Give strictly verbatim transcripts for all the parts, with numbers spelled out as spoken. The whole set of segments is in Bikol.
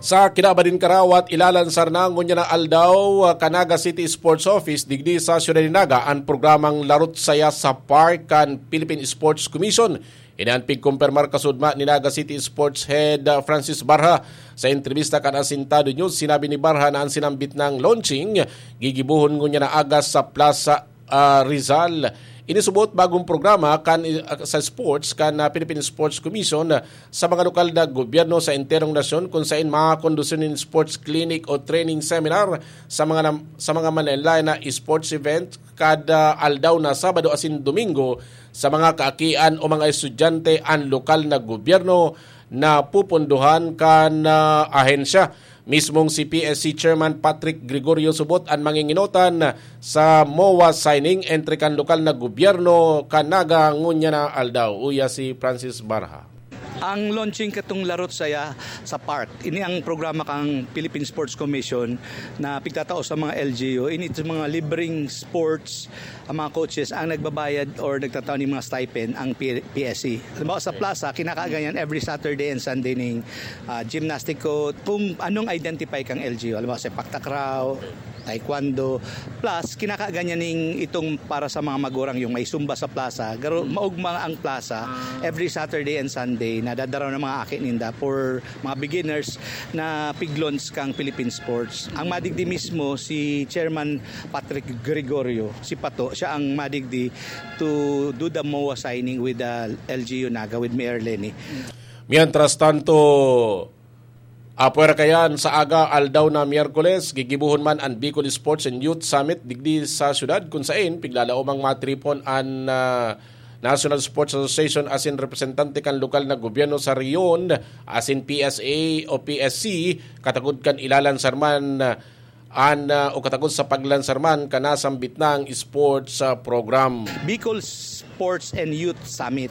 Sa kinaban nin karawat, ilalansar na ngunyan na aldaw, ah, kan Naga City Sports Office digdi sa Siyudad nin Naga an programang Larot Saya sa Park kan Philippine Sports Commission. Ini an pigkumpirmar kasudma ni Naga City Sports Head, ah, Francis Barha. Sa entrebista kan Asintado News, sinabi ni Barha na an sinambit nang launching gigibohon ngunyan na aga sa Plaza, ah, Rizal. Ini subot bagong programa kan, ah, sa sports kan, ah, Philippine Sports Commission, ah, sa mga lokal na gobyerno sa enterong nasyon, kun sain makakondusir nin sports clinic o training seminar sa mga nam-, sa mga manlaen-laen na sports event kada aldaw na Sabado asin Domingo sa mga kaakian o mga estudyante an lokal na gobyerno na pupundohan kan, ah, ahensya. Mismong si P S C Chairman Patrick Gregorio subot an manginginotan sa MOA signing entre kan lokal na gobyerno kan Naga ngunyan na aldaw. Uya si Francis Barha. Ang launching katong Larot Saya sa Park, ini ang programa kang Philippine Sports Commission na pigtatao sa mga L G U. Ini sa mga libreng sports, ang mga coaches ang nagbabayad or nagtatao ning mga stipend ang P-, P S C. Halimbawa sa Plaza, kinakaganyan every Saturday and Sunday ning, ah, gymnastic court. Kung anong identify kang L G U, halimbawa sepak takraw, taekwondo. Plus, kinakaganyan ning itong para sa mga magurang, yung may Zumba sa Plaza. Garo, maugma ang Plaza every Saturday and Sunday, nadadaraw ng mga aki ninda for mga beginners na pig-launch kang Philippine Sports. Ang madigdi mismo, si Chairman Patrick Gregorio, si Pato, siya ang madigdi to do the MOA signing with the L G U Naga, with Mayor Leni. Mientras tanto, apwera kayan, sa aga aldaw na Miyerkules, gigibohon man an Bicol Sports and Youth Summit digdi sa syudad, kun sain piglalaom ang matripon an, ah, National Sports Association asin representante kan lokal na gobyerno sa rehiyon, asin P S A o P S C, katagod kan ilalansar man, ah, an, ah, o katagod sa paglansar man kan nasambit nang sports, ah, program. Bicol Sports and Youth Summit.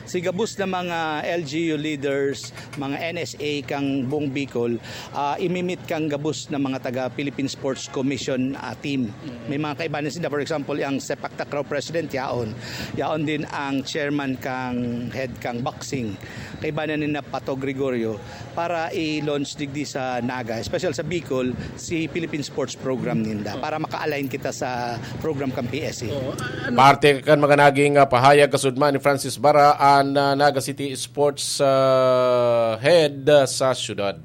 Si gabos na mga L G U leaders, mga N S A kang buong Bicol, ah, imimit kang gabos na mga taga Philippine Sports Commission, ah, team. May mga kaibanan sila. For example, ang sepak takraw president, yaon. Yaon din ang chairman kang head kang boxing. Kaibanan ni na Pato Gregorio para i-launch digdi sa Naga, especially sa Bicol, si Philippine Sports Program ninda para maka-align kita sa program kang P S A. Parte kan mga naging, ah, pahayag kasudma ni Francis Barha, an, ah, Naga City Sports, ah, Head, ah, sa syudad.